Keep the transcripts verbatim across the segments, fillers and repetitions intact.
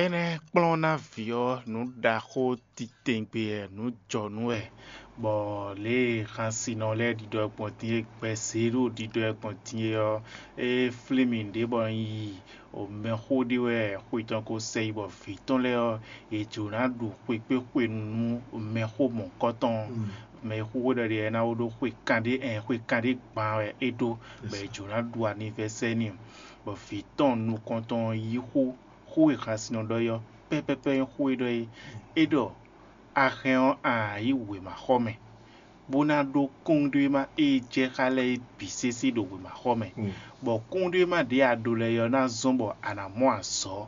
Énɛ́ kplɔ́n ná vǐ ɔ́, nǔ ɖaxó titewungbe wɛ, nǔ jɔnú wɛ, bɔ lě e xansinɔ lɛ́ɛ ɖiɖɔ gbɔn din é, gbɛzě ɖo ɖiɖɔ gbɔn din é ɔ́, é flín mì ɖě bɔ un yi mɛxó ɖé wɛ xwe tɔn ko sɛ yi, bɔ vǐ tɔn lɛ́ɛ ɔ́, yě jló ná ɖu xwekpéxwenu nú mɛxó mɔ̌hunkɔtɔn. Mɛ e xó ɖɔ ɖe ɔ́ ná wó ɖó xwe kanɖé ɛn xwe kanɖé gban wɛ é ɖó, bɔ yě jló ná ɖu anivɛsɛ́ n'i, bɔ vǐ tɔn nukɔntɔn ɔ́ yí xó xó e xasin nɔ ɖɔ é ɔ́, pɛ́pɛ́pɛ́ nyí xó e ɖɔ é. É ɖɔ: "A hɛn ɔ́, a nǎ yi wěmaxɔmɛ, bó ná ɖó kúnɖéwéma e jɛ xá lɛ́ɛ é bǐ sésé ɖo wěmaxɔmɛ, bɔ kúnɖéwéma ɖě a ɖó lɛ́ɛ ɔ́ ná zɔ́n bɔ a nǎ mɔ azɔ̌.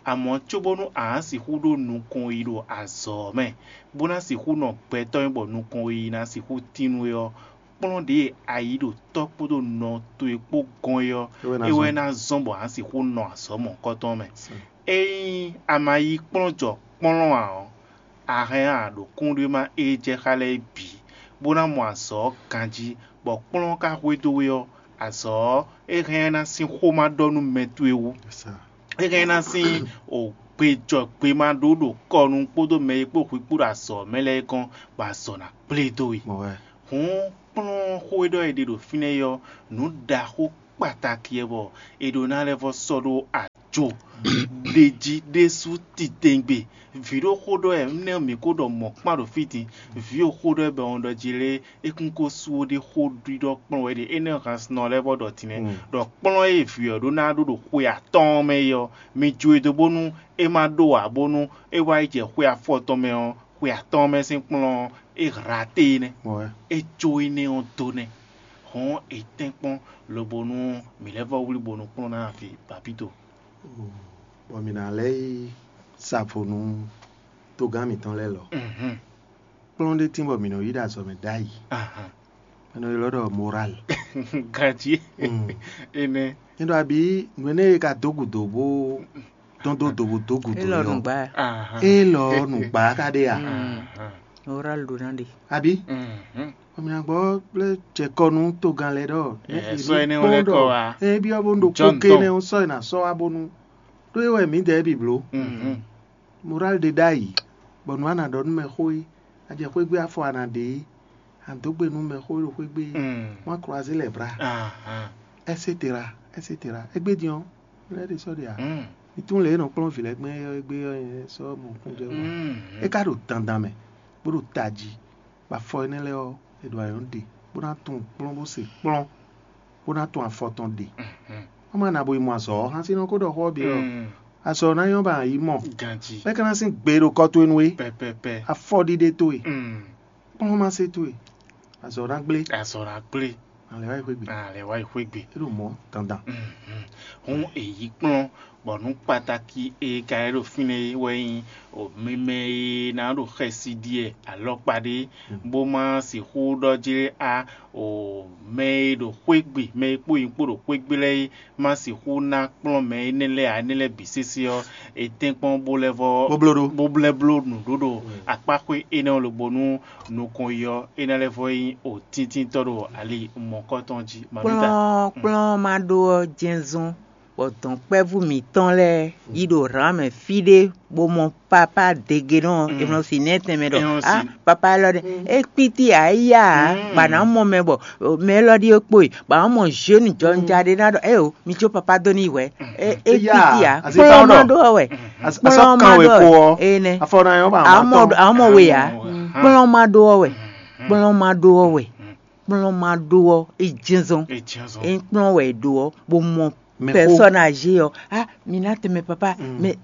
Amɔ̌, cóbónú a nǎ sixú ɖó nukɔn yi ɖo azɔ̌ ɔ́ mɛ, bó ná sixú nɔ gbɛtɔ́ nyi bɔ nukɔn yi ná sixú tín nú we ɔ́, kplɔ́n ɖě e a yí ɖo tɔ́ kpódó nɔ towe kpó gɔ́n é ɔ́, é wɛ ná zɔ́n bɔ a nǎ sixú nɔ azɔ̌ mɔ̌hunkɔtɔn mɛ. Ényí a ma yí kplɔ́n jɔ kplɔ́n ǎ ɔ́, a hɛn a ɖo kúnɖéwéma e jɛ xá lɛ́ɛ é bǐ, bó ná mɔ azɔ̌ ɔ́ ganjí, bɔ kplɔ́n ɔ́ ka hwedó we ɔ́, azɔ̌ ɔ́, é hɛn ná sín xó ma ɖɔ nú mɛ towe wú. É hɛn ná sín gbejɔgbema ɖó ɖo kɔ nu kpódó mɛ e kpó hwi kpó ɖo azɔ̌ mɛ lɛ́ɛ kɔn, bɔ azɔ̌ ná kplé dó we. Hǔn kplɔ́n xó e ɖɔ è ɖe ɖo fínɛ́ é ɔ́, nǔ ɖaxó kpataki wɛ bɔ è ɖó ná lɛ́ vɔ́ sɔ́ ɖó ajo ɖé jí ɖésú titewungbe. Vǐ ɖo xó ɖɔ wɛ, énɛ́ mǐ ko ɖɔ mɔ̌ kpán ɖo fí din. Vǐ ɖo xó ɖɔ wɛ bɔ un ɖɔ jí lé, é kún ko sú ó ɖé xó ɖiɖɔ kplɔ́n wɛ ɖe. Énɛ́ hannɔ lɛ́ɛ vɔ ɖɔ tínɛ́ ɖɔ kplɔ́n e vǐ ɔ́ ɖó ná ɖó ɖo xwe atɔ́ɔ́n mɛ é ɔ́, mi jó e dó bónú é má ɖó ǎ, bónú é wá yi jɛ xwe afɔtɔn mɛ ɔ́, xwe atɔ́ɔ́n mɛ sín kplɔ́n ɔ́, é hlá té é nɛ́. É jó énɛ́ ɔ́ dó nɛ́. Hɔn è tɛ́nkpɔ́n lobo nú mǐ lɛ́ vɔ wlí bónú kplɔ́n ná fi bapito. Bɔ mǐ ná lɛ́ yi sa vo nú togán mǐtɔn lɛ́ɛ lɔ. Kplɔ́n ɖé tín bɔ mǐ nɔ yi ɖo azɔ̌ mɛ ɖ'ayǐ. Mɛ nɔ ylɔ́ ɖɔ moral. Ganjí. Énɛ́. Nyɛ ɖɔ abǐ nǔ énɛ́ e ka dó gǔdo bó dɔn dó do bó dó gǔdo Élɔ́ ɔ́. Nǔgbá. Élɔ́ nǔgbá ka ɖe a? Moral ɖo ná ɖe. Abǐ. Ɔmìnàgbọ́ lé jɛ kɔ nú togán lɛ́ɛ ɖɔ. Ɛ, sɔ énɛ́ lɛ́ kɔ wá. Ɛ byɔ́ bó ɖo John kóké tɔn. Nɛ́ sɔ ná sɔ wá bónú. Ɖó é wɛ mǐdɛɛ bǐ bló. Moral ɖe ɖ'ayǐ, bɔ nǔ a nǎ ɖɔ nú mɛ xó é, a jɛ xwé gbe afɔ a nǎ ɖe é, a nǎ dó gbe nú mɛ xó e ɖo xwé gbe é, wọ́n á croiser les bras, et cetera, et cetera. Égbé din ɔ́, lɛ́ ɖe sɔ́ ɖe ǎ. Mi tunwun lě e è nɔ kplɔ́n vǐ lɛ́ɛ gbɛn é ɔ́, égbé ɔ́, nyɛ sɔ́ mɔ kún jɛ wá. É ka ɖo dandan mɛ, bó ɖo tají, bɔ afɔ énɛ́ lɛ́ɛ ɔ́, è ɖo ayɔ̌ ɖe, bó ná tunwun kplɔ́n bó se kplɔ́n, bó ná tunwun afɔ tɔn ɖe. Wọ́n má na bo yi mɔ azɔ̌ ɔ́, hán sín nɔ kó ɖɔ xó ɔ́ bǐ ɔ́. Azɔ̌ ná nyɔ́ ba yi mɔ. Ganjí. Bɛ́ ka ná sín gbe ɖo kɔ towe nú we. Pɛpɛpɛ. Afɔɖiɖe towe. Kplɔ́nmase towe. Azɔ̌ ná gblé. Azɔ̌ ná gblé. Alɛ wá yi xwé gbe. Alɛ wá yi xwé gbe. É ɖo mɔ̌ dandan. Hǔn è yí kplɔ́n, bɔ nǔ kpatáki e ka lɛ́ ɖo fínɛ́ é wɛ nyí o mimɛ e ná ɖo xɛsi ɖi wɛ alɔkpa ɖé, bó má sixú ɖɔ jlé á o mɛ e ɖo xwé gbe, mɛ e kpó nyí kpó ɖo xwé gbe lɛ́ɛ é má sixú ná kplɔ́n mɛ énɛ́ lɛ́ɛ ǎ, énɛ́ lɛ́ɛ bǐ sésé ɔ́, è tɛ́nkpɔ́n bó lɛ́ vɔ Bó bló ɖó. Bó blɛ́ bló nǔɖuɖu akpáxwé énɛ́ ɔ́ lobo nú nukɔn yi ɔ́, é ná lɛ́ vɔ nyí o tíntínntɔ́ ɖo ali mɔ̌kɔtɔn jí. Mavita. Kplɔ́n kplɔ́n ma ɖó ɔ́ jɛ́nzɔ́n, bɔ dɔ̌nkpɛ́vú mǐtɔn lɛ́ɛ yi ɖo hlǎn mɛ fí ɖé bó mɔ papá degenɔ e nɔ si nɛ́ tɛnmɛ ɖɔ Énɔ́ ah si. Papá élɔ́ ɖé é kpítí ǎ é yá ǎ, bɔ a nǎ mɔ mɛ bɔ mɛ élɔ́ ɖíe kpo e, bɔ a nǎ mɔ zénu jɔnja ɖé ná ɖɔ ée o, mi jó papá dó n'i hwɛ̌. É é Éyá, kpítí ǎ, asi kplɔ́n táwọn ma ɖɔ. Ɖó ɔ́ wɛ. As- Kplɔ́n asɔ ma kan ɖó wɛ ɔ́ kpo wɛ. Ɔ́, Énɛ́. Afɔ na yɔn ba Àwọn ọmọ àwọn ọmọ wé yá. Kplɔ́n ma ɖó ɔ́ wɛ. Kplɔ́n ma ɖó ɔ́ wɛ. Kplɔ́n ma ɖó ɔ́, é jɛ́nzɔ́n. É jɛ́nzɔ́n. É kplɔ́n wɛ ɖó ɔ́, bó mɔ Mɛ xó. Pɛsɔn âgé ɔ́, ah, mi ná tɛmɛ papa, mɛ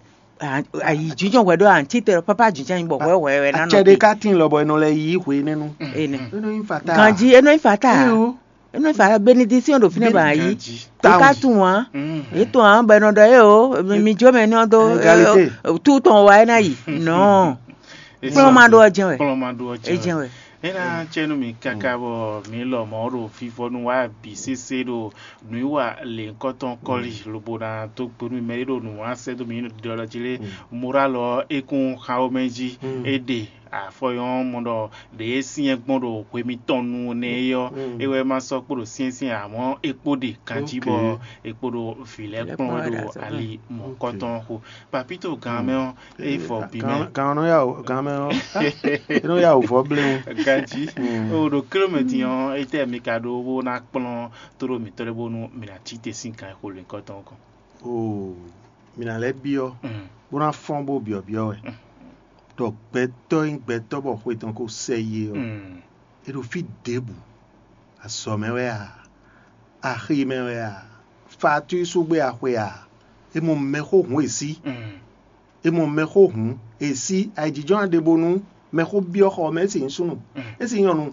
ayǐjínjɔ́n hwɛ ɖó àǹtí tɛ papa jínjɔ́n bɔ hwɛ hwɛ hwɛ ná nɔ Acɛ ɖé te. Ká tín lɔ bɔ è nɔ lɛ yí hwe nɛnu. Ene. É nɔ nyí fata. Ganji, é nɔ nyí fata. Eyo. É nɔ nyí fata, bénédiction ɖo fínɛ́ ba yí. Ganji. É ká tún wá. É tún wá bɔ è nɔ ɖɔ é o, mi jó mɛ ní ɔ́ dó Égalité. Tú tɔn wá é ná yi. Non. Kplɔ́n ma ɖó ɔ́ jɛ́n wɛ. Kplɔ́n ma ɖó ɔ́ É jɛ́n jɛ́n wɛ. wɛ. É ná cɛ nú mi káká bɔ mi lɔ mɔ̌ ɖo fífɔ́ nú wá bǐ sésé ɖo nǔwiwa lěhunkɔtɔn kɔ́li lobo ná dó gbe nú mɛ e ɖo nǔ wá sɛ́ dó mi ɖiɖɔ jí lé. Morálɔ ɔ́, é kún xa ó mɛ jí. É ɖe Afɔ yɔn mɔ ɖɔ ɖě e syɛ́n gbɔn ɖo hwe mitɔn nu nɛ́ é ɔ́, é wɛ ma sɔ́ kpo ɖo syɛ́nsyɛ́n, amɔ̌ é kpo ɖe ganjí bɔ é kpo ɖo vǐ lɛ́ɛ kplɔ́n wɛ ɖo ali mɔ̌kɔtɔn xo. Papito gan mɛ ɔ́, é fɔ bǐ mɛ. Gan ɔ́ nɔ ya wǔ, gan mɛ ɔ́, é nɔ ya wǔ vɔ bléwún. Ganjí. O ɖo kílómètì ɔ́, étɛ́ mi ka ɖó bó ná kplɔ́n tóɖó mǐtɔn lɛ́ɛ bónú mǐ ná cí te sín gan e xo lěhunkɔtɔn ɔ́ kɔn? Oo, mǐ ná lɛ́ byɔ́, bó ná fɔ́n bó byɔ̌byɔ́ wɛ, ɖɔ gbɛtɔ́ e nyí gbɛtɔ́ bɔ xwe tɔn ko sɛ yi é ɔ́, é ɖo fí ɖěbǔ, azɔ̌ mɛ wɛ a, axi mɛ wɛ a, fatísúgbé axwe a, é mɔ mɛxó hǔn e sí, é mɔ mɛxó hǔn e sí ayǐjínjɔ́n a ɖe bónú mɛxó byɔ́ xɔ mɛ é sì nyí súnnu, é sì nyí nyɔ̌nu,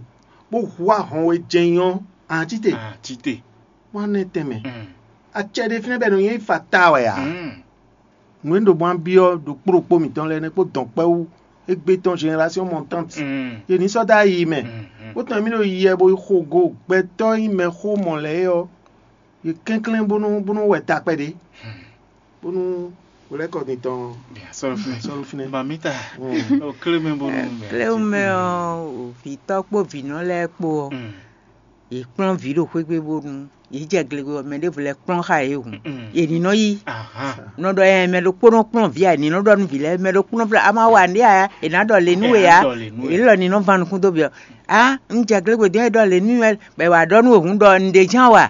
bó hu ahɔn we jɛ́n nyɔ́ ahan cí te. Ahan cí te. Wán nɛ́ tɛnmɛ. Acɛ ɖé fínɛ́ bɔ è nɔ nyi fata wɛ ǎ. Nǔ e un ɖo gbɔn byɔ́ ɖokpó ɖokpó mǐtɔn lɛ́ɛ nɛ́ kpó dɔ̌nkpɛ́wú égbé tɔn génération montante, yě ní sɔ́ dó ayi mɛ. Bó tɔn mì ɖo yiyɛ bo yi xo go gbɛtɔ́ e nyí mɛxó mɔ̌ lɛ́ɛ é ɔ́, yě kɛnklɛ́n bónú bónú wɛ takpɛ ɖé, bónú wlɛ́kɔ din tɔn Sɔ́ ɖo fínɛ́. Sɔ́ ɖo fínɛ́. Mamita, o kle mɛ bónú mɛ. Kléwú mɛ ɔ́, vǐtɔ́ kpó vǐnɔ lɛ́ɛ kpó ɔ́, yě kplɔ́n vǐ ɖo xwé gbe bónú yě jɛ gle ɔ́, mɛ ɖěvo lɛ́ɛ kplɔ́n xá yě hǔn. Yě ní nɔ yí. Nɔ ɖɔ ɛ mɛ ɖokpónɔ kplɔ́n vǐ a, è ní nɔ ɖɔ nú vǐ lɛ́ɛ mɛ ɖokpónɔ flá a ma wa nǔɖé a, è nǎ ɖɔ lě nú we a. È lɔ ní nɔ van nukún dó bǐ ɔ́. A un jɛ gle gbe dɔn é ɖɔ lě nú wɛ bɔ è wǎ ɖɔ nú we hǔn ɖɔ un ɖe ján wa.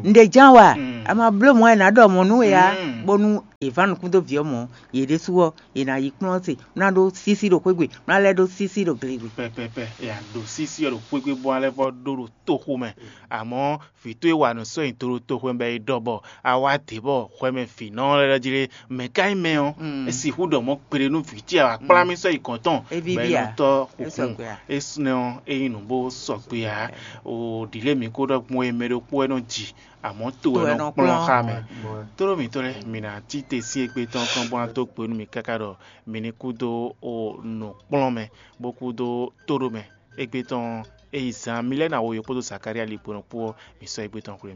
Un ɖe ján wa. A ma bló mɔ̌ è nǎ ɖɔ mɔ̌ nú we a, bónú è van nukún dó vǐ ɔ́ mɔ̌, yě ɖésú ɔ́, è nǎ yi kplɔ́n se, bó ná ɖó sísí ɖo xwé gbe, bó ná lɛ́ ɖó sísí ɖo gle gbe. Pɛpɛpɛ, è nǎ ɖó sísí ɔ́ ɖo xwé gbe bó ná lɛ́ vɔ ɖó ɖo toxo mɛ. Amɔ̌ vǐ towe wa nǔ sɔ́ nyi do ɖo toxo mɛ bɔ è ɖɔ bɔ a wá dě bɔ hwɛ mɛ vǐnɔ lɛ́ɛ jí lé, mɛ̌ ka nyí mɛ ɔ́? É sixú ɖɔ mɔ̌ kpéɖé nú vǐ ce a wǎ kplá mì sɔ́ yi gɔ̌n tɔn, bɔ é nɔ tɔ́ xukun. É nɛ́ ɔ́, é nyí nǔ bó sɔgbe ǎ. O ɖǐlé mǐ ko ɖɔ gbɔn e mɛ ɖokpó wɛ nɔ ji, amɔ̌ to wɛ nɔ kplɔ́n xá mɛ. Tlóló mǐtɔn lɛ́ɛ, mǐ ná cí te sín égbé tɔn kɔn bó ná dó gbe nú mì káká ɖɔ mǐ ní kú dó o nǔkplɔ́nmɛ, bó kú dó tóɖomɛ. Égbé tɔn ɔ́, é yi zan mì lɛ́ɛ ná wo yě kpódó Zakalía ligbɔnɔ kpó ɔ́, mǐ sɔ́ égbé tɔn xwlé.